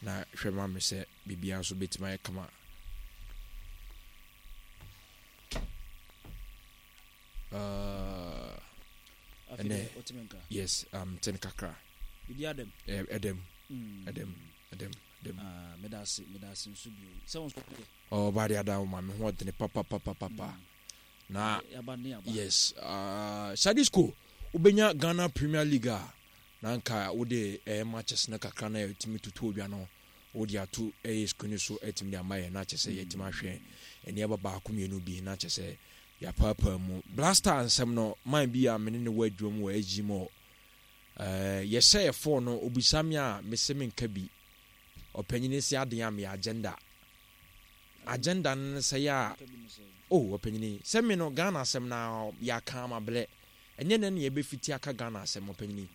Na hwɛ ma me sɛ biribiara nso bɛtumi ayɛ kama. Uh, ɛnɛ yes um, ten kakra biribi adam ɛdam ɛdam ɛdam ɛdam ah, meda ase meda ase nso bio sɛ wo nso yɛ ɔba de ada wo ma me ho ɔdene papapapapa mm. Na yes uh, Sadisco wobɛnya Ghana Premier League a na nka wode ɛyɛ matches no kakra na ɛtumi tutu odwa no wode ato ɛyɛ screen so ɛtumi de ama yɛ na kyɛ sɛ yɛtumi ahwɛ nneɛma baako mmienu bi na kyɛ sɛ yɛapaapaa mu blaster nsɛm no man bi a mene ne wɔ adwuma mu wɔ SG mu ɛɛ yɛhyɛ yɛ fɔɔ no obisa me a mese menka bi ɔpanyini se adeɛ a meyɛ agenda Agenda no ne sɛ yɛ a oh ɔpanyini sɛ me no Ghana asɛm na yɛaka ama blɛ ɛnyɛ nɛ ne yɛbɛfiti aka Ghana asɛm ɔpanyini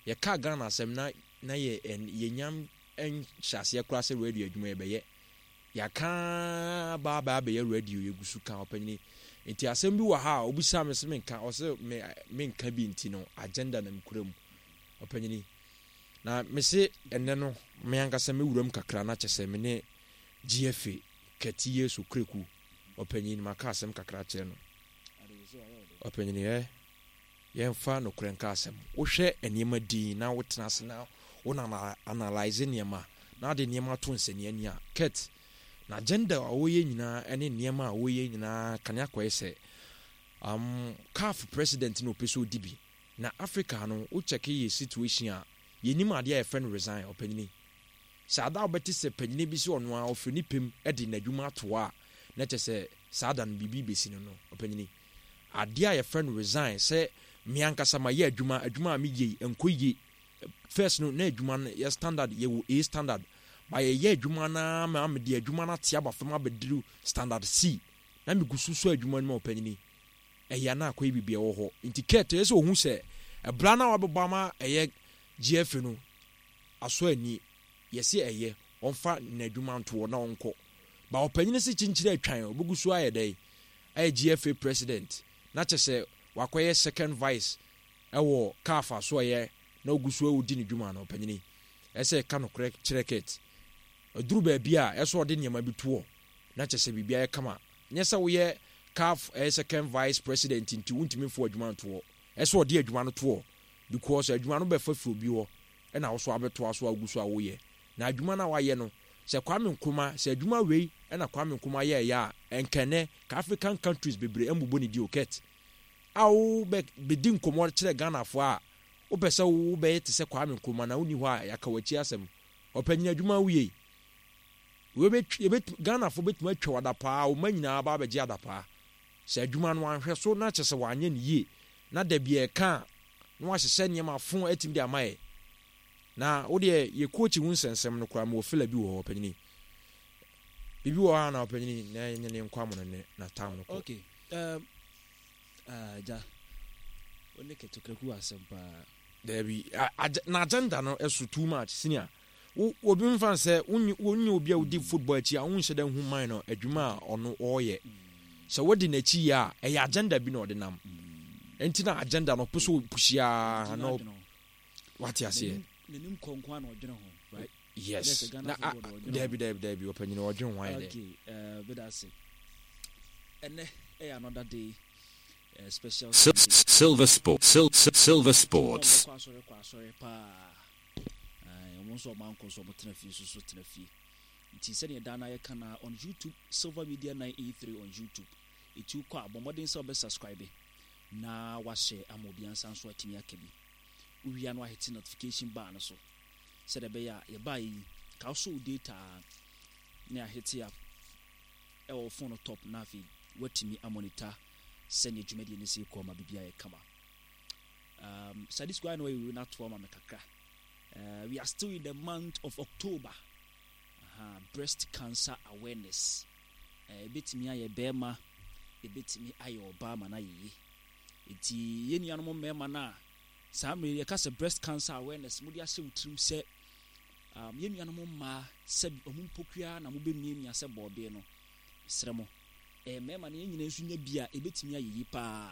yɛka Ghana asɛm na na yɛ yɛnya nhyɛ aseɛ koraa sɛ radio adwuma yɛbɛyɛ yɛaka baa baa bɛyɛ radio yɛgu so ka ɔpanyini nti asɛm bi wɔ ha a obisa me sɛ menka ɔsɛ me menka bi nti no agenda na mekura mu ɔpanyini na mese ɛnɛ no me ankasa me wuram kakra na kyɛ sɛ me ne GFA, Kɛte Yesu Kreku, ɔpanyin, maka asɛm kakra akyerɛ no. Ɔpanyin, ɛ, yɛmfa nokorɛ nka asɛm. Wohwɛ nneɛma din na wotena ase na wo na analyze nneɛma na ade nneɛma to nsania ani a, Kurt, na agenda a wɔyɛ nyinaa ne nneɛma a wɔyɛ nyinaa kane akɔyɛ sɛ um, CAF president na ɔpɛ sɛ ɔdi bi. Na Africa no, wo check yɛ situation a, yɛnim adeɛ a yɛfrɛ no resign, ɔpanyini. Sɛ ada a wobɛte sɛ panyin bi sɛ ɔno ara ɔfiri ne pɛ mu de n'adwuma ato hɔ a, na kyerɛ sɛ saa da no biribi rebɛsi no no, ɔpanyini. Adeɛ a yɛfrɛ no resign, sɛ me ankasa mayɛ adwuma, adwuma a meyɛ yi ɛnkɔ yie. First no, na adwuma no yɛ standard, yɛwɔ A standard. Ba yɛyɛ adwuma no ara ma mede adwuma no ate aba fam abɛduru standard C. Na megu so sɔ adwuma no mu a, ɔpanyini, ɛyɛ a na akɔyɛ biribi ɛwɔ hɔ. Nti Kurt, ɛyɛ sɛ ɔhu sɛ ɛbra no a wabɛbɔ ama ɛyɛ GFA no, asɔ ani, yɛse ɛyɛ, ɔmfa n'adwuma nto hɔ na ɔnkɔ. Ba ɔpanyin se kyenkyere atwan, ɔbɛgu so ayɛ dɛn? Ayɛ GFA president, na kyɛ sɛ wakɔyɛ second vice ɛwɔ CAF asoɛeɛ na ɔgu so ɔdi ne dwuma no, ɔpanyini, ɛsɛ ɛka nokorɛ kyerɛ Kurt. Ɛduru baabi a, ɛsɛ ɔde nneɛma bi to hɔ na kyɛ sɛ biribi ayɛ kama. Nyɛ sɛ woyɛ CAF ɛyɛ second vice president nti wontumi mfa w'adwuma nto hɔ. Ɛsɛ ɔde adwuma no to hɔ because adwuma no bɛfa firi obi hɔ. na wo so abɛtoa so a wogu so a woyɛ. Na adwuma no a wayɛ no, sɛ Kwame Nkrumah, sɛ adwuma wei na Kwame Nkrumah yɛɛyɛ a, ɛnka ɛnɛ, ka African countries bebree mmobɔ ne din o, Kurt. A wo bɛ bɛdi nkɔmmɔ kyerɛ Ghanafoɔ a, wopɛ sɛ wo bɛyɛ te sɛ Kwame Nkrumah na wonni hɔ a, yɛaka w'akyi asɛm. Ɔpanyin adwuma a woyɛ yi, wei bɛ, yɛbɛtumi, Ghanafoɔ bɛtumi atwa wo adapaa, wo mma nyinaa ba abɛgye adapaa. Sɛ adwuma no wanhwɛ so na kyerɛ sɛ wanyɛ no yie, na da bi ɛka a, na wahyehyɛ nneɛma fo atumi de ama yɛ. Na wo deɛ yɛ coach ho nsɛnsɛm no koraa mewɔ fila bi wɔ hɔ ɔpanyini. Biribi wɔ hɔ a na ɔpanyini na ɛnyɛ ne nkɔ amono ne na town no kɔ. Okay. Um, ah, ja. Wo ne kɛtokraku asɛm paa. Daabi, na agenda no ɛso too much senior. Wo obi mfa sɛ wonye wonye obi a wodi football akyi a wonhyɛ da nhu man no adwuma a ɔno ɔreyɛ. Sɛ wodi n'akyi yie a ɛyɛ agenda bi na ɔde nam. Nti na agenda no ɔpɛ sɛ ɔpushi ara na wate aseɛ. N'anim kɔ nko ara na ɔdwene ho, right? Yes. Na daabi daabi daabi ɔpanyini ɔdwene ho ayɛ dɛ. Okay, beda ase. Ɛnɛ ɛyɛ another day. Uh, special Silver Sport, Silver Sports. Kɔ asɔre kɔ asɔre paa. Wɔn nso wɔn ankɔ nso wɔn tena fie nso so tena fie. Nti sɛdeɛ daa na yɛka na on YouTube Silver Media 983 on YouTube. Etu kɔ a bɔ mmɔden sɛ wɔbɛ subscribe na wahyɛ ama obi ansa nso atumi aka bi. Wowia no ahete notification bar no so sɛdeɛ ɛbɛyɛ a yɛbaa yi ka wosɔ wo data ne ahete a ɛwɔ phone no top na afei watumi amonitor sɛdeɛ dwumadie no si kɔ ma biribi ayɛ kama. Um, Sadi Square no ayi na to ama me kakra. We are still in the month of October. Uh-huh. Breast cancer awareness. Ebetumi ayɛ bɛrima, ebetumi ayɛ ɔbaa ma no ayɛ yie. Nti yɛn nuanom mmarima no a saa mmerɛ yɛka sɛ breast cancer awareness mode ahyɛ wo tirim sɛ um, yɛn nuanom mmaa sɛ ɔmo mpokua na mobɛmiamia sɛ bɔɔdeɛ no, mesrɛ mo mmarima no yɛn nyinaa nso nya bi a ebetumi ayɛ yie paa.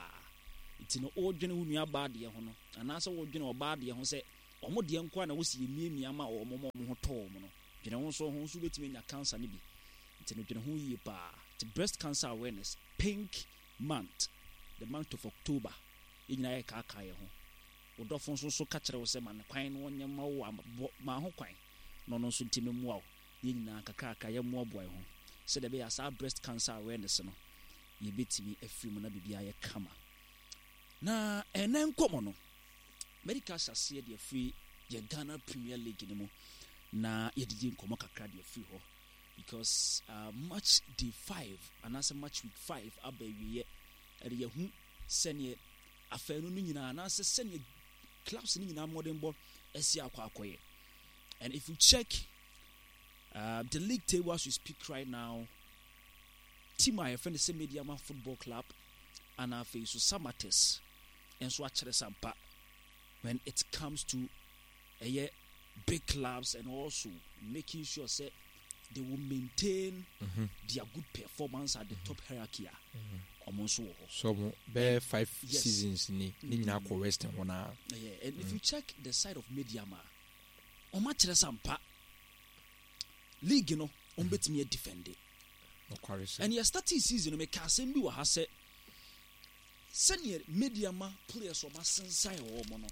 Nti no wodwene wo nua baa deɛ ho no anaasɛ wodwene ɔbaa deɛ ho sɛ ɔmo deɛ nko a na wosi yɛmiamia ma ɔmo ma ɔmo ho tɔ ɔmo no. Dwene ho nso ho nso wobɛtumi anya cancer no bi. Nti no dwene ho yie paa. Nti breast cancer awareness, pink month, the month of October, yɛn nyinaa yɛkaakaa yɛn ho. Wo dɔfo nso so ka kyerɛ wo sɛ ma no kwan na ɔnyɛ mma wo a, bɔ ma ho kwan na ɔno nso ntumi mmoa wo. Na yɛn nyinaa nkakrankakra yɛmmoaboa yɛn ho sɛdeɛ ɛbɛyɛ a saa breast cancer awareness no yɛbɛtumi afiri mu na biribiara ayɛ kama. Na ɛnɛ nkɔmmɔ no, mɛdi ka ahyɛ aseɛ de afiri yɛ Ghana Premier League no mu na yɛdidi nkɔmmɔ kakra de afiri hɔ because match day 5 anaasɛ match week 5 aba awieɛ, ɛde yɛhu sɛneɛ afanu no nyinaa anaasɛ sɛneɛ clubs no nyinaa mmɔdenbɔ asi akɔ akɔyɛ. And if you check the league table as we speak right now, team a yɛfrɛ no sɛ Medeama Football Club ana afei so Samatex nso akyerɛ sampa when it comes to ɛyɛ big clubs and also making sure sɛ they will maintain their good performance at the top hierarchy a ɔmo nso wɔ hɔ. So ɔmo bɛyɛ 5 seasons ni ne nyinaa kɔ Western hɔ naa. Yeah, and if you check the side of Medeama, ɔmo akyerɛ sampa league no ɔmo bɛtumi adefend. Nokware sɛ. And yɛ starting season no, meka asɛm bi wɔ ha sɛ sɛneɛ Medeama players ɔmo asensan wɔ ɔmo no,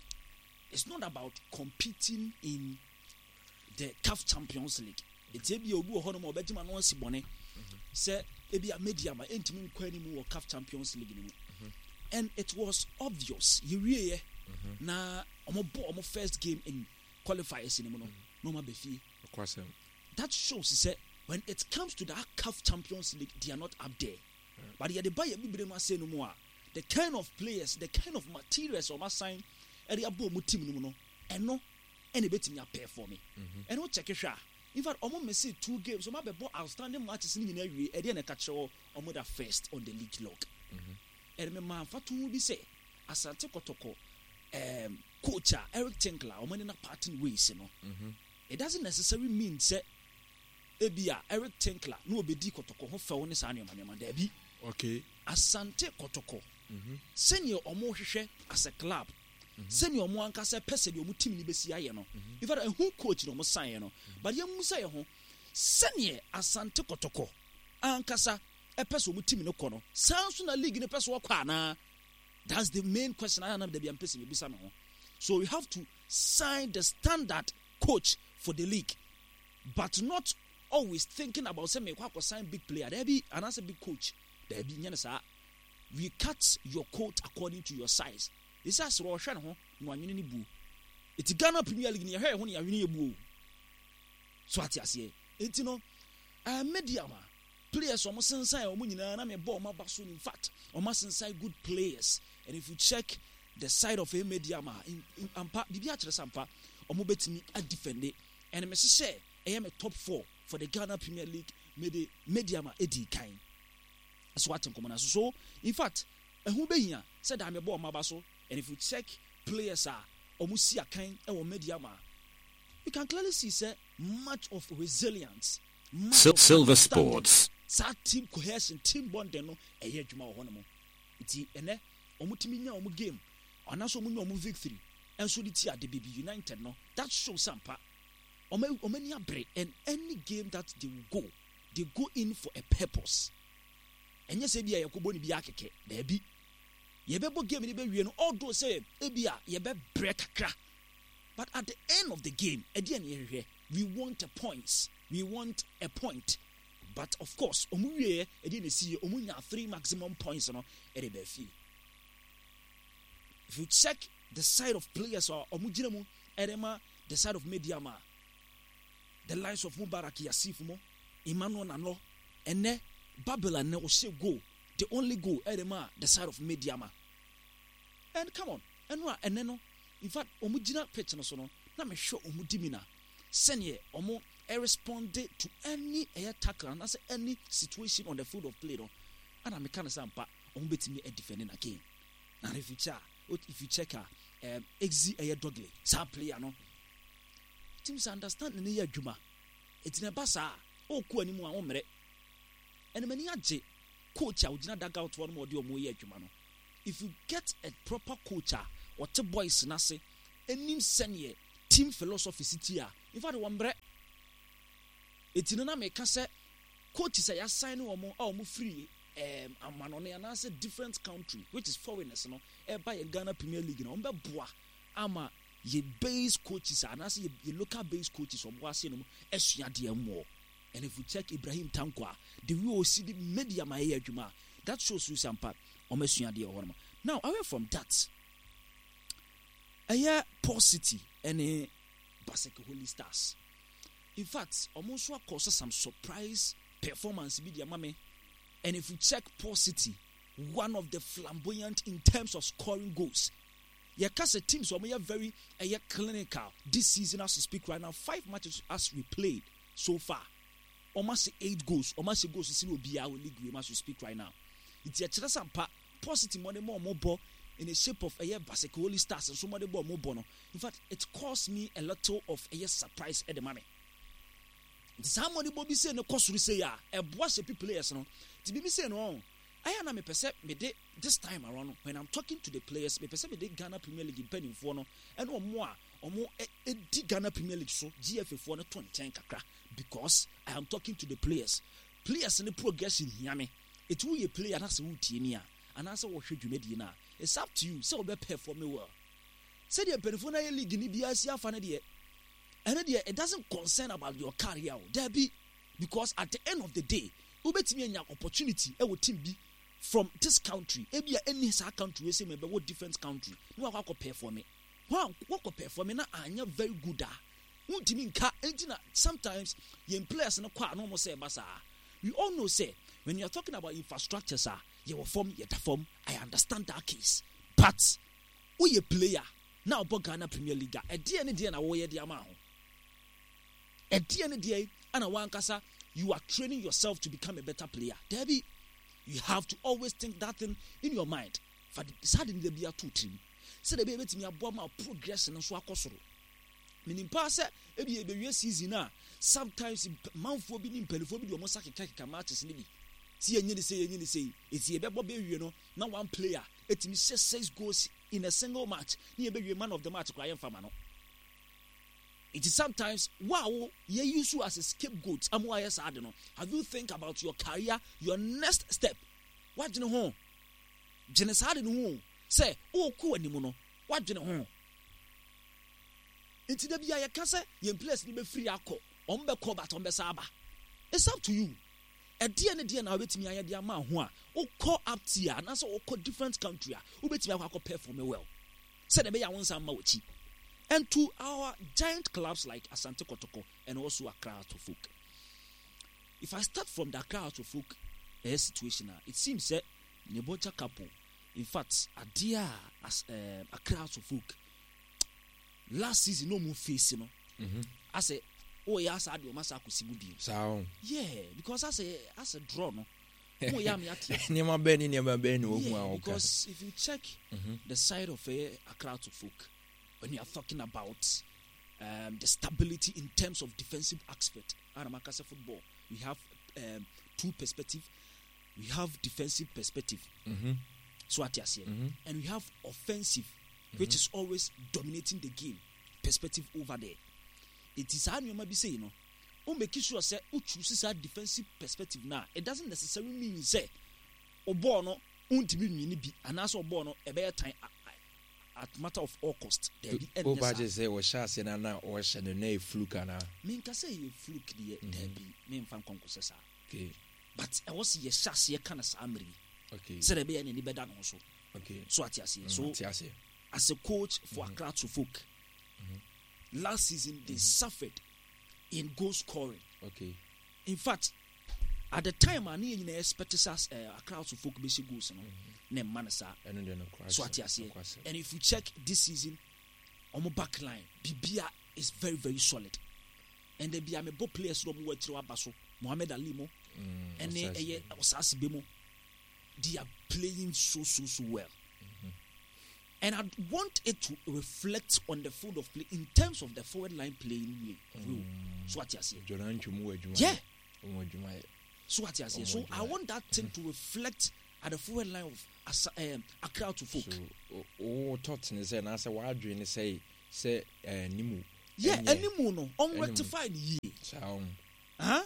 it's not about competing in the CAF Champions League. Eti ebi obi wɔ hɔ nom a ɔbɛgye ma no asi bɔne sɛ ebi a Medeama ɛntumi nkɔ anim wɔ CAF Champions League no mu. And it was obvious yɛwieɛ na ɔmo bɔ ɔmo first game in qualifiers no mu no na ɔmo aba fie. Nokwasɛm. That shows sɛ when it comes to that CAF Champions League, they are not up there. But yɛde ba yɛ bibire mu ase no mu a, the kind of players, the kind of materials ɔmo asan ɛde abɔ ɔmo team no mu no, ɛno ɛna ebetumi aperform. Ɛno check hwɛ a, in fact ɔmo miss two games, ɔmo abɛbɔ outstanding matches ne nyinaa wie, ɛdeɛ na ɛka kyerɛ wɔ ɔmo da first on the league log. Ɛde me maa mfatoho bi sɛ Asante Kɔtɔkɔ coach a Eric Tinkler ɔmo ne na parting ways no, it doesn't necessarily mean sɛ ebi a Eric Tinkler na obedi Kɔtɔkɔ ho fɛw ne saa nneɛma nneɛma daabi. Asante Kɔtɔkɔ sɛnea ɔmo hwehwɛ as a club, sɛnea ɔmo ankasa pɛ sɛdeɛ ɔmo team no bɛsi ayɛ no, in fact ɛho coach na ɔmo sign yɛ no, but yɛn musa yɛ ho sɛnea Asante Kɔtɔkɔ ankasa ɛpɛ sɛ ɔmo team no kɔ no, saa nso na league no pɛ sɛ ɔkɔ anaa? That's the main question ayɛ anam dabi ampɛ sɛ mebisa me ho. So you have to sign the standard coach for the league, but not always thinking about sɛ mekɔ akɔ sign big player daabi anaasɛ big coach daabi, nyɛ no saa. We cut your coat according to your size. Ɛsɛ asrɛ ɔhwɛ ne ho na wanwene ne buo. Ɛti Ghana Premier League ne yɛhwɛ yɛ ho ne yɛanwene yɛ buo. So ate aseɛ. Ɛnti no Medeama players ɔmo sensan ɔmo nyinaa na mebɔ ɔmo aba so. In fact ɔmo asensan good players, and if you check the side of Medeama, ampa biribi akyerɛ sɛ ampa ɔmo bɛtumi adefend. And mehyehyɛ ɛyɛ me top 4 for the Ghana Premier League, mede Medeama edi kan. So ate nkɔmɔ na so in fact ɛho bɛhia sɛ daa mebɔ ɔmo aba so. And if you check players a ɔmo si akan ɛwɔ Medeama, you can clearly see sɛ much of resilience, much of Silver understanding, Sports. saa team cohesion, team bonding no ɛyɛ adwuma wɔ hɔ nom. Nti ɛnɛ ɔmo tumi nya ɔmo game anaasɛ ɔmo nya ɔmo victory ɛnso de ti ade Baby United no, that shows ampa ɔmo ani abere. And any game that they will go, they go in for a purpose. Ɛnyɛ sɛ ebi a yɛkɔbɔ ne bi akɛkɛ daabi, yɛbɛbɔ game no bɛwie no, although sɛ ebi a yɛbɛbrɛ kakra, but at the end of the game ɛdeɛ ne yɛhwehwɛ, we want a points, we want a point. But of course ɔmo wieɛ ɛdeɛ na esi yɛ ɔmo nya 3 maximum points no ɛde bɛɛ fie. If you check the side of players a ɔmo gyina mu ɛde ma the side of Medeama, the likes of Mubarak Yasif mo, Emmanuel Nano, ɛnɛ Babylon na ɔhyɛ goal, the only goal ɛde ma the side of Medeama. And come on, ɛno a ɛnɛ no in fact ɔmo gyina pitch no so no na mehwɛ ɔmo di mi na sɛneɛ ɔmo respond to any ɛyɛ tackle anaasɛ any situation on the field of play no, ɛna meka no sɛ ampa ɔmo bɛtumi adefend na game. Na if you check a exi ɛyɛ Dogley saa player no, teams understand ne yɛ adwuma. Eti na ɛba saa ɔkɔ anim a ɔmmerɛ. Ɛna m'ani agye coach a ogyina dugout hɔ no ma ɔde ɔmo yɛ adwuma no. If you get a proper coach a ɔte boys n'ase anim sɛneɛ team philosophy si ti a, in fact wɔn mbrɛ. Eti no na meka sɛ coaches a yɛasign wɔn a wɔn firi um, amanɔne anaasɛ different country which is foreigners no ɛba yɛn Ghana Premier League no wɔn bɛboa ama yɛ base coaches anaasɛ yɛ, yɛ local base coaches wɔn wɔ ase no mu asua deɛ mmoɔ. And if you check Ibrahim Tanko a, the way osi de media ma ɛyɛ adwuma that shows you sɛ ampa wɔn asua deɛ wɔ hɔ nom. Now away from that, ɛyɛ Port City ɛne Baseke Holy Stars. In fact, wɔn nso akɔ so some surprise performance bi de ama me. And if you check Port City, one of the flamboyant in terms of scoring goals. Yɛka sɛ teams wɔn yɛ very ɛyɛ clinical this season as we speak right now five matches as we played so far wɔn ahyɛ eight goals wɔn ahyɛ goals sini obiara wɔ league wei mu as we speak right now. Nti ɛkyerɛ sɛ ampa Port City mmɔden ma wɔn bɔ in the shape of ɛyɛ Baseke Holy Stars nso mmɔden bɔ wɔn bɔ no in fact it caused me a little of ɛyɛ surprise ɛde ma me. Nti saa mmɔdenbɔ bi sei no kɔ soro sei a, ɛboa shape players no. Nti biribi sei no ɔn, ɛyɛ a na mepɛ sɛ mede this time around no, when I'm talking to the players, mepɛ sɛ mede Ghana Premier League mpanimfoɔ no ɛne wɔn a wɔn di Ghana Premier League so, GFA foɔ no to nkyɛn kakra because I am talking to the players. Players no progression hia me. Eti woyɛ player na sɛ wotie me a, anaasɛ wɔhwɛ dwumadie no a, it's up to you sɛ wobɛ perform well. Sɛdeɛ mpanimfoɔ no ayɛ league no biara si afa no deɛ, ɛno deɛ it doesn't concern about your career o, daabi, because at the end of the day, wobɛtumi anya opportunity ɛwɔ team bi from this country, ebi a ɛnni saa country wei sɛ mu ɛbɛwɔ different country, na wakɔ akɔ perform. Wakɔ perform na anyɛ very good a, wontumi nka, enti na sometimes yɛn players no kɔ a na wɔn sɛ ɛba saa. We all know sɛ when you are talking about infrastructures a, yɛwɔ fam, yɛda fam, I understand that case, but woyɛ player na ɔbɔ Ghana Premier League a, ɛdeɛn ne deɛn na woyɛ de ama ho? Ɛdeɛn ne deɛn ana wankasa you are training yourself to become a better player? Dabi, you have to always think that thing in your mind. Fa saa de no da bi ato tirim sɛdeɛ ɛbɛyɛ bɛtumi aboa ma progression nso akɔ soro. Menim paa sɛ ebi yɛbɛwie season a sometimes manfoɔ bi ne mpanimfoɔ bi de wɔn nsa kekakeka matches no bi sɛ yɛnyɛ ne sei yɛnyɛ ne sei eti yɛbɛbɔ bɛwie no na one player etumi hyɛ six goals in a single match ne yɛbɛwie man of the match koraa yɛmfa ma no. Nti sometimes wo a wo yɛ use you as a scapegoat ama wayɛ saa ade no, have you think about your career, your next step? Wadwene ho? Dwene saa ade no ho o, sɛ wokɔ w'anim no, wadwene ho? Nti da bia yɛka sɛ yɛn players no bɛfiri akɔ, wɔn bɛkɔ but wɔn bɛsa aba. It's up to you. Ɛdeɛn ne deɛn na wobɛtumi ayɛ de ama ho a wokɔ up tier anaasɛ wokɔ different country a wobɛtumi akɔ akɔ perform well sɛdeɛ ɛbɛyɛ a wo nsa mma w'akyi. And to our giant clubs like Asante Kotoko and also Accra Hearts of Oak. If I start from the Accra Hearts of Oak eh, situation a, it seems sɛ Neboja Kapo, in fact, adeɛ a as, eh, Accra Hearts of Oak last season na ɔmo face no mhm. asɛ ɔyɛ asa adeɛ ɔmo asa akɔsi mu bio. Saa o. Yeah, because asɛ asɛ draw no mo yɛ ame ate. Nneɛma bɛn ne nneɛma bɛn na ohu a ɔka. Because if you check mm -hmm. the side of uh, Accra to folk when you are talking about um, the stability in terms of defensive aspect, Anamakasa football, we have um, two perspective. We have defensive perspective. Mm -hmm. So ate aseɛ. Mm -hmm. And we have offensive which is always dominating the game perspective over there. Eti saa nneɛma bi sei no, wo make sure sɛ wo choose saa defensive perspective no a, it doesn't necessarily mean sɛ wo bɔɔl no wontumi nwini bi anaasɛ wo bɔɔl no ɛbɛyɛ tan at matter of all cost. Daabi, ɛnyɛ Wo ba saa. gye sɛ wɔhyɛ aseɛ no na wɔhyɛ no na ɛyɛ fluke anaa? Menka sɛ ɛyɛ fluke deɛ, daabi, memfa nkɔ nkɔsɛ saa. Okay. But ɛwɔ sɛ yɛhyɛ aseɛ ka no saa mmerɛ yi Okay. sɛdeɛ ɛbɛyɛ n'ani bɛda ne ho so. Okay. So ate aseɛ. Mm, So ate aseɛ. as a coach for mm -hmm. Accra to folk, mm -hmm. last season they mm -hmm. suffered in goal scoring. Okay. In fact, at the time a ne yɛ nyinaa expect sɛ uh, Accra to folk bɛhyɛ goals no mm-hmm. na ɛma no saa. So ate aseɛ. And if you check this season, ɔmo back line bibia is very very solid. And then bia mebɔ players no ɔmo wɔ akyire aba so Mohammed Ali mo ɛne ɛyɛ Ɔsaase be mo. they are playing so so so well. Mm-hmm. And I want it to reflect on the field of play in terms of the forward line playing way. Mm. So what you say? Yeah. So what you say? So I want that thing to reflect at the forward line of as, um, Accra to folk. So, oh, thought ne sɛ na sɛ wadwene ne sɛ sɛ animu. Yeah, animu no, on rectify ne yie. Saa. Huh?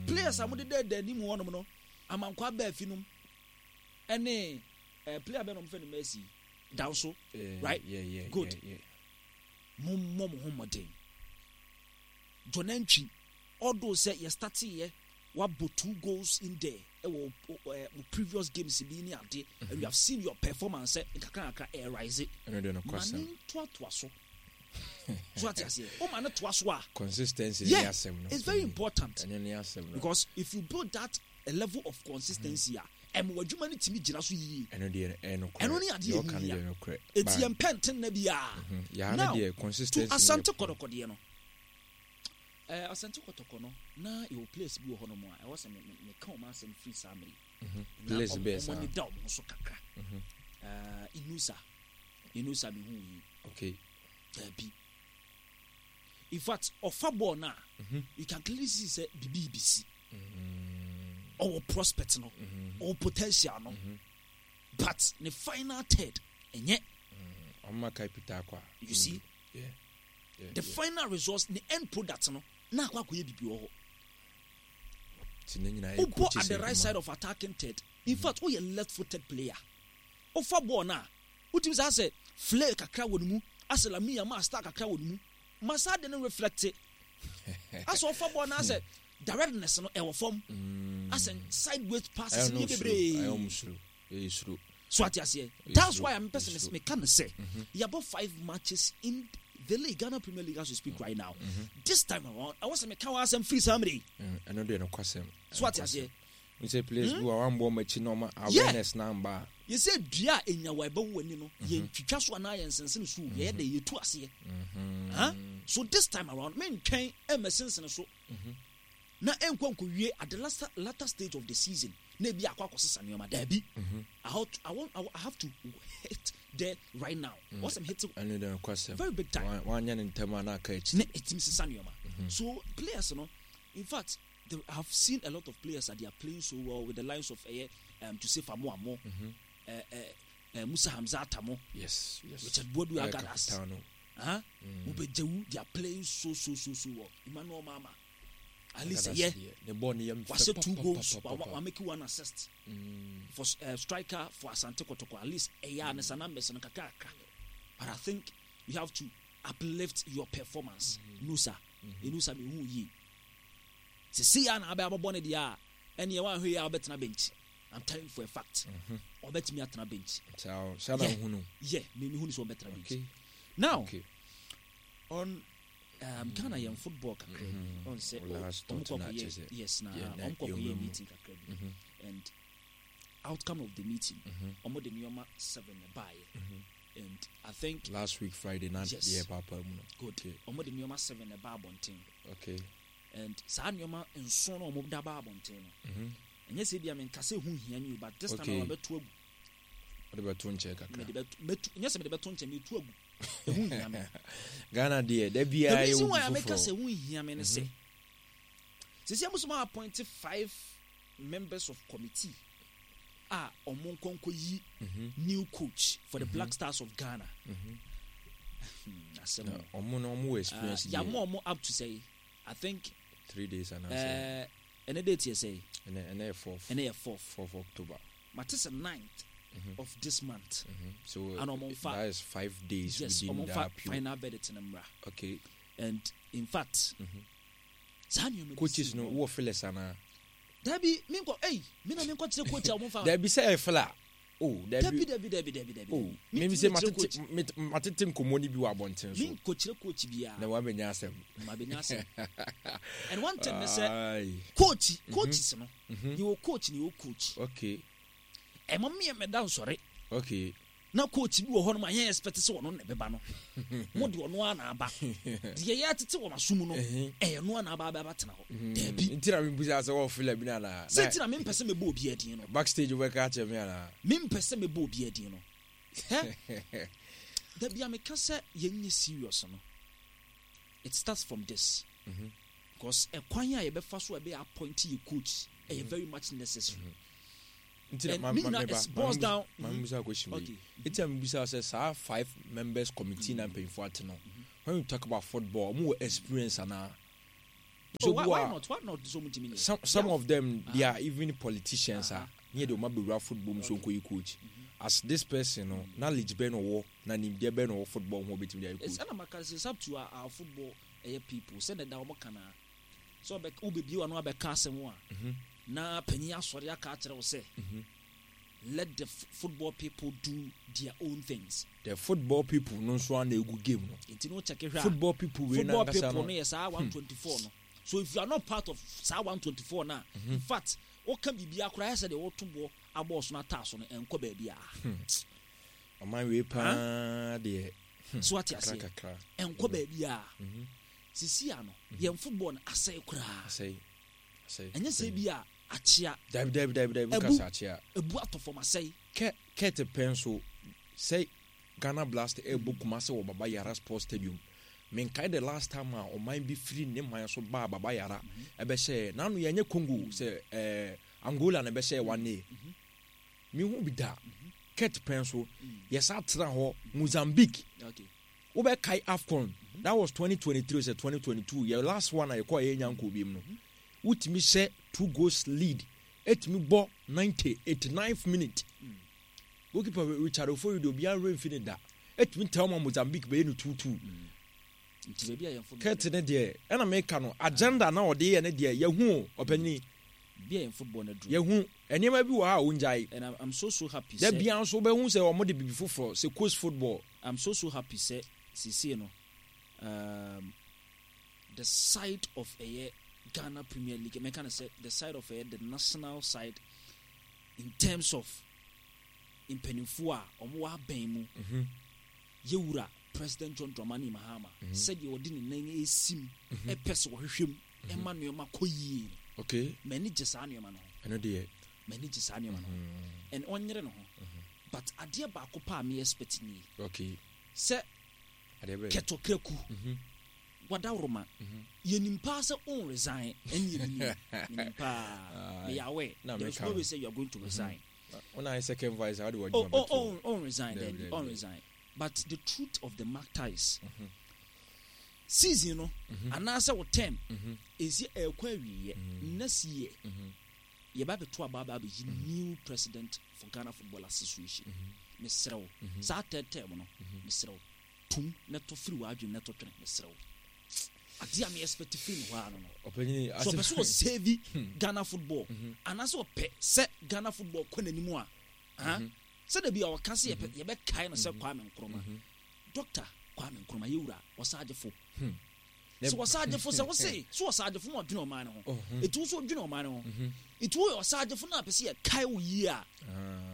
Players a mode dɛɛdɛɛ anim hɔnom no, Amankwa Abaafi nom ɛne eh, player bɛn na wɔfrɛ no Mercy Danso, right? Yeah, yeah, Good. Yeah, yeah. Mommɔ mo ho mmɔden. John Antwi, although sɛ yɛ starteeɛ wabɔ two goals in there ɛwɔ eh, mo previous games bi ne ade, and we have seen your performance sɛ nkakra nkakra ɛrise. Ɛno deɛ Ma nokwasɛm. ne ntoatoa so. So ate aseɛ, woma no toa so a, Consistency ne yeah, asɛm no. it's very important. Ɛno ne asɛm no. Because if you build that a level of consistency a, ɛma w'adwuma no tumi gyina so yie. Ɛno deɛ ɛyɛ nokorɛ. Ɛno ne adeɛ Deɛ ɛho ɔka no hia. deɛ nokorɛ. Eti Ba- yɛn pɛ ntenna biara. Yaa no Now, deɛ to consistency no yɛ Asante Kɔtɔkɔ deɛ no, eh, Asante Kɔtɔkɔ no, na yɛwɔ players bi wɔ hɔnom a ɛwɔ sɛ me- me- meka wɔn asɛm firi saa mmere yi. Na Players ɔmo bɛɛ ɔmo saa. ani da wɔn ho so kakra. Eh, Inusa, Inusa mehu yi. Okay. Daabi. In fact, ɔfa bɔɔl no a, you can clearly see sɛ biribi bɛsi. Ɔwɔ prospect no, ɔwɔ potential no, but ne final third ɛnyɛ. Ɔmo kai Peter Akwa. You see, Yeah. Yeah, the yeah. final results, ne end product no, na akɔ akɔyɛ biribi wɔ hɔ. Ti ne nyinaa yɛ Wobɔ coaches at the right adwuma. side of attacking third. In fact, woyɛ left footed player. Wofa bɔɔl no a, wotumi sɛ asɛ flare kakra wɔ ne mu, asɛ Lamine Yamal star kakra wɔ ne mu. Ma saa de no reflect. Asɛ ɔfa bɔɔl no asɛ directness no ɛwɔ fam. Asɛ sideways passes Ɛyɛ no no yɛ suro. bebree. Ɛyɛ ɔmo suro. Ɛyɛ suro. So ate aseɛ. Ɛyɛ That's suro. why I'm Ɛyɛ person suro. meka no sɛ yɛabɔ five matches in the league, Ghana Premier League as we speak right now. This time around, ɛwɔ sɛ meka wɔ asɛm firi saa mmerɛ yi. Ɛno deɛ nokwasɛm. So ate aseɛ. N sɛ players bi wɔ a wɔambɔ ɔmo akyi na ɔmo Yeah. awareness na amba a. Yɛsɛ dua a ɛnya wɔ ɛbɛwo w'ani no, yɛntwitwa so anaa yɛnsensene so, yɛyɛ dɛ yɛtu aseɛ. Huh? So this time around, mentwɛn ɛmmɛsensene so na ɛnkɔ nkɔwie at the last, latter stage of the season na ebi akɔ akɔsesa nneɛma. Daabi. I have to, I want, I have to hit there right now. Once I'm hitting Ɛno deɛ nokwasɛm. very big time. Wanyɛ ne ntɛm a na aka akyi. Ne ɛtumi sesa nneɛma. So players no, in fact, they, I have seen a lot of players that they are playing so well with the lines of Joseph Amoamo, Musa Hamza Atamo, Yes. Richard Boadu Ɛyɛ Agadas. Capitano. Huh? Ubejewu, they are playing so so so so well. Emmanuel Mama, at least Agadas yeah, deɛ, Ne bɔɔl no yɛ mfɛ wahyɛ two pa, pa, goals, pa, pa, pa. wa make one assist for striker for Asante Kotoko. At least ɛyɛ a ne sa numbers no kakra kakra. But I think you have to uplift your performance. Nusa, Nusa me hu yie. Sisi ya na abɛ abɔbɔ ne deɛ a, ɛne ɛwɔ ahwɛ yi a ɔbɛtena bench. I'm telling you for a fact. Ɔbɛtumi atena bench. Saa saa na Yeah. wohu no. Yeah, me me hu ne sɛ ɔbɛtena bench. Okay. Now Okay. on Ghana yɛn football kakra bi. On sɛ Last ɔmo thought kɔ na akɔyɛ kyerɛ sɛ, yes na yeah, na ɔmo kɔ akɔyɛ yɛwura mu. meeting kakra bi and outcome of the meeting ɔmo de nneɛma seven na baayɛ and I think Last week Friday na Yes. deɛ paapa mu no. good Okay. ɔmo de nneɛma seven na ba abɔnten Okay. and saa nneɛma nson na ɔmo da ba abɔnten no ɛnyɛ sɛ ebi a menka sɛ ɛho hia mi o but this time Okay. around mɛto agu Wode bɛto nkyɛn kakra. mɛde bɛto mɛtu nyɛ sɛ mɛde bɛto nkyɛn mɛtu agu ɛho hia me. Ghana deɛ da The biara yɛ reason wo why I make foforɔ. us a hia me ne sɛ sisi amuso appoint five members of committee a ɔmo nkɔnkɔ yi new coach for the Black Stars of Ghana. Asɛm Na o. ɔmo no ɔmo wɔ experience Uh, deɛ. yàmú ɔmo up to say I think 3 days anaasɛ ɛnɛ date yɛ sɛ ɛnɛ yɛ fourth. ɛnɛ yɛ fourth 4th October. mate sɛ 9th of this month So And ɔmo nfa- that is 5 days yes within ɔmo nfa that period. final verdict no mmra Okay. and in fact saa nneɛma bi Coaches si no hɔ. wɔ fillers anaa? Dabi menkɔ ei me na menkɔ kyerɛ coach a ɔmo nfa. Dabi sɛ ɛyɛ filler. Oh, Dabi dabi. dabi dabi dabi dabi. Oh, mimi sɛ matete matete nkɔmmɔ no bi wɔ abɔnten so. Menkɔ kyerɛ coach biara. Na wabɛnya asɛm. Mabɛnya asɛm. And one thing ne sɛ Aye. coach coaches no yɛwɔ coach ne yɛwɔ coach. Okay. Ɛma meyɛ mɛda nsɔre Okay. na coach bi wɔ hɔ nom a yɛn expect sɛ ɔno na ɛbɛba no mo de ɔno ara na aba deɛ yɛ atete wɔ n'aso mu no ɛyɛ no ara na aba aba tena hɔ dabi. Nti na mebusa sɛ wɔwɔ filler bi no anaa? Sɛ nti na mempɛ sɛ mebɔ obi adin no. Backstage wobɛka akyerɛ me anaa? Mempɛ sɛ mebɔ obi adin no. Hɛ dabi a meka sɛ yɛnyɛ serious no, it starts from this because ɛkwan a yɛbɛfa so a ɛbɛyɛ appoint yɛ coach ɛyɛ very much necessary. Nti na And ma me ma nyinaa meba it boils down. ma mebusa question wei. Okay. Nti na mebusa sɛ saa five members committee na mpanyinfoɔ ate no. When we talk about football, ɔmo wɔ experience anaa? So why, why not? Why not? So ɔmo Some some of them they are even politicians a ne yɛ de ɔmo abɛwura football mu so nkɔ yi coach. As this person no knowledge bɛn na ɔwɔ na nimdeɛ bɛn na ɔwɔ football ho ɔbɛtumi de ayɛ coach. Ɛna maka sɛ it's up to our, our football ɛyɛ people sɛ na ɛda ɔmo ka na sɛ ɔbɛ wobɛbie wano abɛka asɛm a na panyin asɔre aka akyerɛ wo sɛ let the football people do their own things. The football people no nso ana egu game no. Nti no check hwɛ a. Football people wei na ankasa no. Football people no yɛ saa 124 no. So if you are not part of saa 124 na, mm -hmm. in fact, woka biribi akora ayɛ sɛ deɛ woto boɔ abɔɔ so no ataa so no ɛnkɔ baabi a. Ɔman wei paa deɛ. So ate aseɛ ɛnkɔ baabi a. Sisi ano yɛn football no asɛe koraa. Asɛe. Ɛnyɛ sɛ bi a akyea. Dabi dabi dabi dabi woka sɛ akyea. Ebu atɔ fam asɛe. Kɛ kɛte pɛ nso sɛ Ghana Blast ɛrebɔ Kumasi wɔ Baba Yara Sports Stadium. Menkae the last time a ɔman bi firi ne man so baa Baba Yara ɛbɛhyɛɛ. N'ano yɛnyɛ Congo sɛ ɛɛ Angola na ɛbɛhyɛɛ one day. Mehu bi da. Kɛte pɛ nso yɛsa tena hɔ Mozambique. Okay. Wobɛkae AFCON, that was 2023 sɛ 2022, yɛ last one a yɛkɔɔ a yɛnnya nkɔɔ biom no, wotumi hyɛ two goals lead, ɛtumi bɔ 90, 89th minute. Goalkeeper Richard Ofori deɛ obiara werɛ mfi ne da, ɛtumi tɛw ma Mozambique bɛyɛ no 2-2. Kurt ne deɛ, ɛna meka no, agenda na ɔde yɛ ne deɛ, yɛhu o, ɔpanyini. Yɛhu nneɛma bi wɔ ha a ɔngyae. Da biara nso wobɛhu sɛ wɔde biribi foforɔ, sɛ coast football. I'm so so happy sɛ seesei no um, the side of ɛyɛ Ghana Premier League mɛka no sɛ the side of ɛyɛ the national side in terms of mpanimfoɔ a wɔn wɔ abɛn mu mm -hmm. yɛwura President John Dramani Mahama mm -hmm. sɛdeɛ ɔde ne nan esi mu mm -hmm. ɛpɛ sɛ wɔhwehwɛ mu mhm. ɛma nneɛma kɔ yie okay. m'ani gye saa nneɛma no ho ɛno deɛ m'ani gye saa nneɛma no ho mm-hmm. and ɔnyere ne ho mm-hmm. But adeɛ baako pɛ a me expect nie. Okay. Sɛ kɛtɔkraku mhm. wadaworoma mhm. yɛnim paa sɛ on resign ɛne yɛnim menim paa meyɛ aware there is no way sɛ you are going to mhm. resign. Wona ayɛ second vice a wode w'adwuma bɛto. Oh, oh, on resign dabi on resign but the truth of the matter is mm -hmm. season no mm -hmm. anaasɛ wo term ɛsi ɛkɔ awieɛ next year mm -hmm. Yɛba abɛto aba aba abɛyi new president for Ghana Football Association. Mesrɛ wo, saa third term no, mesrɛ wo, tum na to firi w'adwene na to twene, mesrɛ wo. Adeɛ a me expect firi ne hɔ ara no no. So ɔpɛ sɛ ɔsave Ghana football anaasɛ ɔpɛ sɛ Ghana football kɔ n'anim a, ah, sɛdeɛ bi a ɔka sɛ yɛbɛkae no sɛ Kwame Nkrumah. Doctor Kwame Nkrumah, yɛwura ɔsagyefo. Sɛ ɔsagyefo sɛ wose sɛ ɔsagyefo na ɔdwene ɔman no ho ɛti wo so ɔdwene ɔman no ho ɛti woyɛ ɔsagyefo na apɛ sɛ yɛkae wo yie a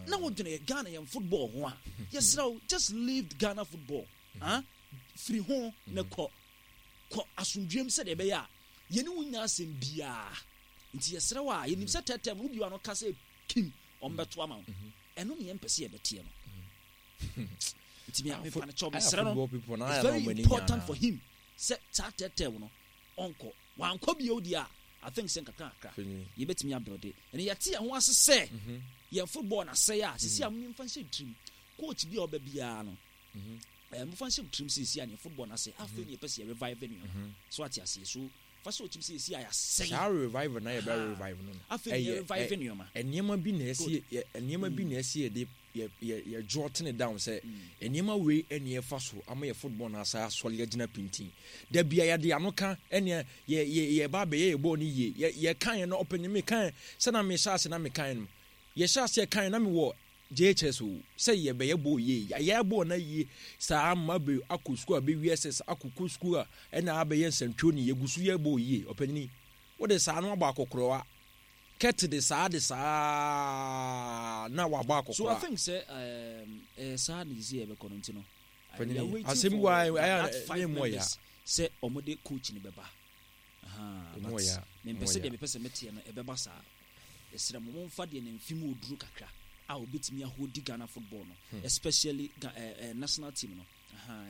na wodwene yɛ Ghana yɛn football ho a yɛsrɛ wo just leave Ghana football ah firi ho na kɔ kɔ asomdwuem sɛdeɛ ɛbɛyɛ a yɛne wo nya asɛm biara nti yɛsrɛ wo a yɛnim sɛ tɛtɛm wo biwa no ka sɛ kim ɔmbɛto ama wo ɛno ne yɛmpɛ sɛ yɛbɛteɛ no nti mepa no kyɛw mesrɛ no it's very important for him sɛ saa tɛtɛw no ɔnkɔ wankɔ bio deɛ a I think sɛ nkakra nkakra yɛbɛtumi abuilde ɛne yɛte yɛn ho ase sɛ mhm. yɛn football na asɛe a sisi a mhm. momfa nhyɛ tirim coach bi a ɔba biara no mhm. eh, momfa nhyɛ tirim sisi a ne football na asɛe afei ne yɛpɛ sɛ yɛ revive nneɛma so ate aseɛ so fa sɛ ɔtim sɛ yɛsi a yɛasɛe saa revive na yɛbɛ revive no afei ne yɛ revive nneɛma nneɛma bi na ɛsi nneɛma bi na ɛsi yɛde yɛ yɛ yɛ jot ne down sɛ nneɛma wei ɛne ɛfa so ama yɛ football no asa asɔre agyina pintin da bia yɛde ano ka ɛne yɛ yɛ yɛ ba abɛyɛ yɛ bɔɔl no yie yɛ yɛ kan yɛ no ɔpɛnyɛ me kan sɛ na me hyɛ ase na me kan no yɛ hyɛ ase kan na me wɔ JHS o sɛ yɛ bɛyɛ bɔɔl yie yɛ bɔɔl na yie saa ama bɛ akɔ sukuu a bɛwi SS akɔkɔ sukuu a ɛna abɛyɛ nsɛntwerɛ ni yɛgu so yɛ bɔɔl yie ɔpɛnyini wode saa no abɔ akɔkorɔwa Kurt de saa de saa na wabɔ akɔkora. So I think sɛ ɛyɛ saa na sisi yɛbɛkɔ no nti no. We are waiting asɛm for wa that five members sɛ wɔn de coach no bɛba. But mempɛ sɛ deɛ mepɛ sɛ meteɛ no ɛbɛba saa. Yɛsrɛ mo momfa deɛ ne mfe mu oduru kakra a obetumi ahodi Ghana football no hmm. especially uh, uh, national team no.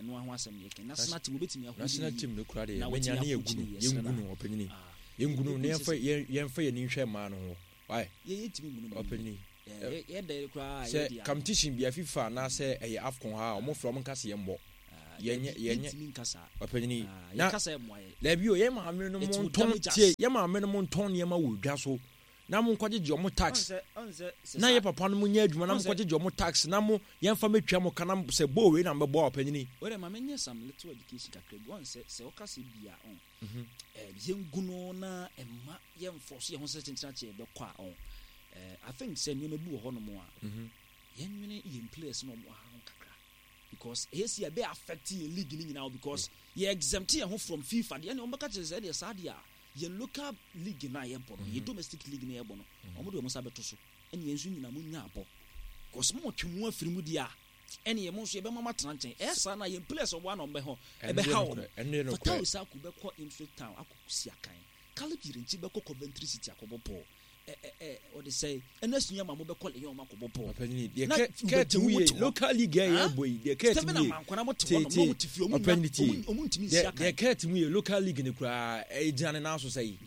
Ɛno ho asɛm yɛ kɛn national team obetumi ahodi national team no kura deɛ menya ne yɛgu no yɛngu no ɔpanyini ah. yɛngu no na yɛmfa yɛmfa yɛn ani nhwɛ mmaa no ho why yɛntumi ngu no ɔpanyini sɛ competition bia FIFA anaasɛ ɛyɛ AFCON ha a wɔn frɛ wɔn nka sɛ yɛn bɔ ah. Yɛnyɛ yɛnyɛ Yɛntumi nka saa. Ɔpanyini Ah, na yɛka sɛ ɛmmoa yɛn. Dabi o, yɛn maame no It mo will ntɔn damage tie us. yɛn maame no mo ntɔn nneɛma wɔ dwa so na mo nkɔgyegye ɔmo tax. Ɔn sɛ ɔn sɛ sɛ Na saa yɛ papa no mo nyɛ adwuma na ɔn mo sɛ nkɔgyegye ɔmo tax na mo yɛnfa mɛtua mo ka na sɛ bowl wei na mobɛbɔ a ɔpanyini. Wei deɛ ma menyɛ some little education kakra bi. Ɔn sɛ sɛ woka sɛ bi a ɔn eh, yɛngu no na ɛmma yɛnfɔso yɛn ho sɛ kyenkyena kye yɛbɛkɔ a ɔn eh, I think sɛ nneɛma bi wɔ hɔnom a yɛnwene yɛn players na ɔmo ha ho kakra because ɛyɛ si ɛbɛ affect yɛn league no nyinaa because yɛ exempt yɛn ho from FIFA deɛ ɛne ɔmo bɛka kyerɛ sɛ ɛdeɛ saa deɛ a yɛn local league no a yɛbɔ no yɛn domestic league no yɛbɔ no ɔmo de ɔmo nsa bɛto so ɛne yɛn nso nyinaa mo nya abɔ because mo twe mo afiri mu deɛ a ɛne yɛn mo nso yɛbɛma mo atena nkyɛn ɛyɛ saa na yɛn players ɔmo ano ɔmo bɛhɔ ɛbɛha wɔn Fatawu Issahaku bɛkɔ Ipswich Town akɔ si akan Caleb Yirenkyi bɛkɔ Coventry City akɔbɔ bɔɔl ɛ ɔde sɛ ɛna sua ma mo bɛkɔ Lyon ma kɔbɔ bɔɔl ɔpanyini deɛ kɛ kɛɛti mu yɛ local league yɛ yɛ bɔ yi deɛ kɛɛti mu yɛ tie tie ɔpanyini tie deɛ deɛ kɛɛti mu yɛ local league ne koraa ɛgyina ne nan so sɛ yi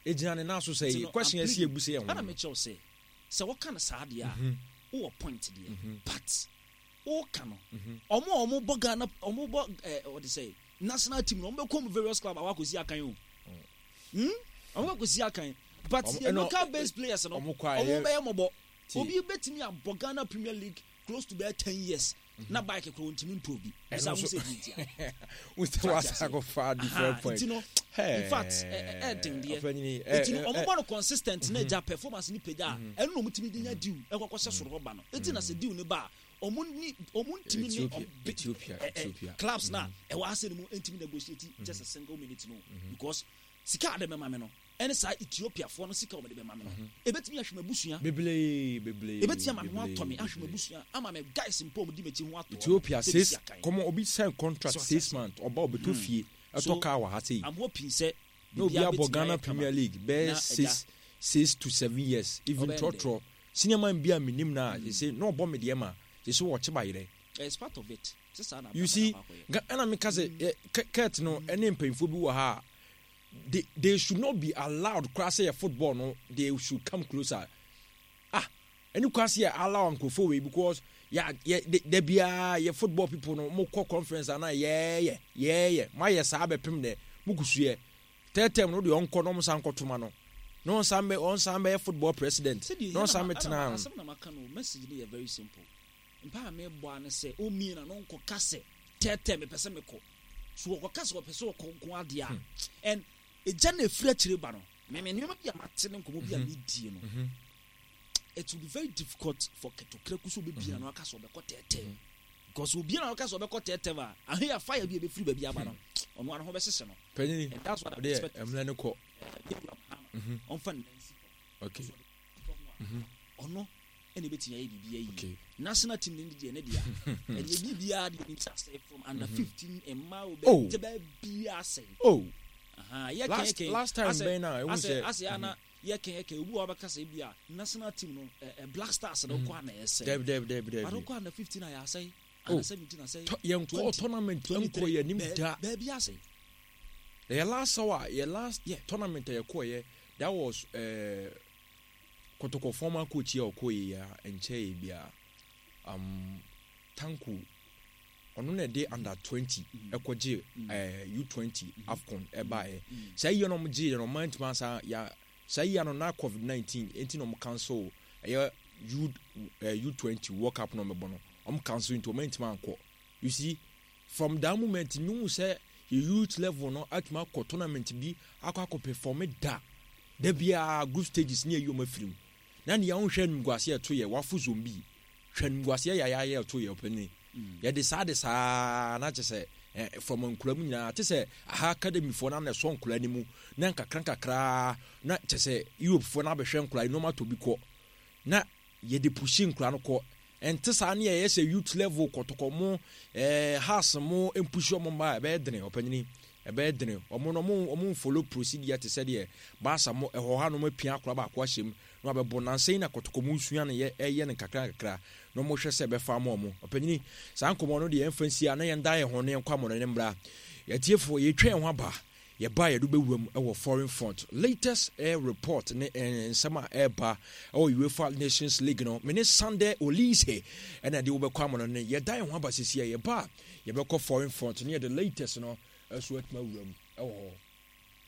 ɛgyina ne nan so sɛ yi question ɛsi ebu sɛ yɛn ho ɛna mekyɛw sɛ sɛ wɔka no saa deɛ a wowɔ point deɛ but woka no ɔmo a ɔmo bɔ Ghana ɔmo bɔ ɛɛ ɔde sɛ national team no ɔmo bɛ kɔ mu various club a wakɔsi akan o hmm ɔmo kɔsi akan but yɛ local based players no ɔmo bɛyɛ mɔbɔ obi bɛtumi abɔ Ghana Premier League close to bɛyɛ 10 years na bike koro ntumi ntɔ obi bisa ho sɛ bi ntia wosɛ wasa akɔfa different point nti no in fact ɛɛden deɛ nti no ɔmo bɔ no consistent na agya performance ni pagya a ɛno na ɔmo tumi de nya deal ɛkɔkɔ hyɛ soro hɔ ba no eti na sɛ deal ne ba a ɔmo ni ɔmo ntumi ne Ethiopia Ethiopia clubs na ɛwɔ ase no mu ntumi negotiate just a single minute no because sika ade bɛma mi no ɛne saa Ethiopiafoɔ no sika wɔn de bɛma mi no ebetumi ahwɛ m'abusua bebree bebree ebetumi ama me ho atɔ me ahwɛ m'abusua ama me guys mpo ɔmo di m'akyi ho atɔ Ethiopia six kɔmɔ obi sign contract 6 months ɔba ɔbɛtɔ fie ɛtɔ car wɔ ha sei I'm hoping sɛ na obi abɔ Ghana Premier League bɛyɛ 6 to 7 years even trɔtrɔ senior man bi a menim na sɛ na ɔbɔ me deɛ ma sɛ sɛ wɔkye ba yerɛ. It's part of it. You see, ɛna meka sɛ kurt no ɛne mpanyinfoɔ bi wɔ ha a they should not be allowed koraa sɛ yɛ football no they should come closer. Ah, ɛne koraa sɛ yɛ allow nkurɔfoɔ wei because yɛ yɛ da biara yɛ football people no mo kɔ conference ana yɛɛyɛ yɛɛyɛ mo ayɛ saa bɛpem dɛ mo kusu yɛ third term no deɛ ɔnkɔ na ɔmo san kɔtoma no na ɔnsan bɛ ɔnsan bɛyɛ football president na ɔnsan bɛ tena ho. Asɛm na maka no message no yɛ very simple mpa a mebɔ ano sɛ ɔmie na no nkɔ ka sɛ third term mepɛ sɛ mekɔ so wɔkɔ ka sɛ wɔpɛ sɛ wɔkɔ nko adeɛ a and egya na efiri akyire ba no mɛmɛ nneɛma bi a mate ne nkɔmɔ bi a medie no it will be very difficult for Kurt Okraku sɛ ɔbɛbia no aka sɛ ɔbɛkɔ third term because obiara na ɔka sɛ ɔbɛkɔ third term a ahe a fire bi a ɛbɛfiri baabi aba no ɔno ano ho bɛhyehye no. Panyin And that's what I'm ɔdeɛ expecting. mmerɛ no kɔ. Ɔmfa ne nan si fam. Ɔno ɛna ebɛtumi ayɛ biribi ayi. National team ne deɛ ne deɛ ɛnyɛ biribiara deɛ nim sɛ asɛe from under 15 mmaa o bɛ bɛ biara asɛe. Oh. Yɛ last last time bɛn na ehu sɛ asɛ ana yɛ kɛn yɛ kɛn obi wa bɛka sɛ ebi a national team no ɛ Black Stars no kɔ ana ɛsɛ. Dɛbi dɛbi dɛbi dɛbi. Ado kɔ under 15 a yɛ asɛe. Under 17 asɛe. Yɛn kɔ tournament nkɔ yɛ nim da. Baabi asɛe. Yɛ last hour yɛ last tournament a yɛ kɔ yɛ that was Kotoko former coach yɛ ɔkɔ yɛ ya nkyɛn yɛ bia Tanko ɔno na ɛde under 20 ɛkɔ gye U20 AFCON ɛbaeɛ saa yie na ɔmo gye yɛ no ɔmo antumi ansa ya saa yie no na COVID 19 enti na ɔmo cancel ɛyɛ U U20 World Cup na ɔmo bɔ no ɔmo cancel nti ɔmo antumi ankɔ. You see, from that moment mehu sɛ yɛ youth level no atumi akɔ tournament bi akɔ akɔ perform da da biara group stages ne yɛyi wɔn afiri mu na nea wohwɛ animguaseɛ ɛto yɛ wafo zombi hwɛ animguaseɛ yɛ ayɛ ɛto yɛ ɔpɛni yɛde saa de saa na kyɛ sɛ eh, from nkura mu nyinaa te sɛ aha academy foɔ na na ɛsɔ nkura no mu na nkakra nkakra na kyɛ sɛ Europe foɔ na abɛhwɛ nkura yi nneɛma tɔ bi kɔ na yɛde pushi nkura no kɔ. Ɛnte saa ne yɛyɛ sɛ youth level kɔtɔkɔ mo eh, house mo mpushi ɔmo mma a ɛbɛyɛ dene ɔpanyini ɛbɛyɛ dene ɔmo no ɔmo ɔmo nfollow procedure te sɛ deɛ baasa mo ɛhɔ ha no ɔmo apia akora baako ahyɛ mu na wabɛbɔ nansa yi na kɔtɔkɔ mo nsua no yɛ ɛyɛ no nkakra nkakra na ɔmo hwɛ sɛ ɛbɛfa ama ɔmo ɔpanyini saa nkɔmɔ no deɛ yɛmfa nsi a na yɛn dan yɛn ho na yɛnkɔ amɔnɔ ne mbra yɛtiefoɔ yɛtwa yɛn ho aba. Yɛba a yɛde wobɛwura mu wɔ foreign front. Latest eh, report ne eh, nsɛm a ɛreba ɛwɔ UEFA Nations League no. Me ne Sunday Olise ɛna ɛde wobɛkɔ ama no ne yɛda yɛn ho aba sisi a yɛba a yɛbɛkɔ foreign front ne yɛde latest no ɛso atumi awura mu ɛwɔ hɔ.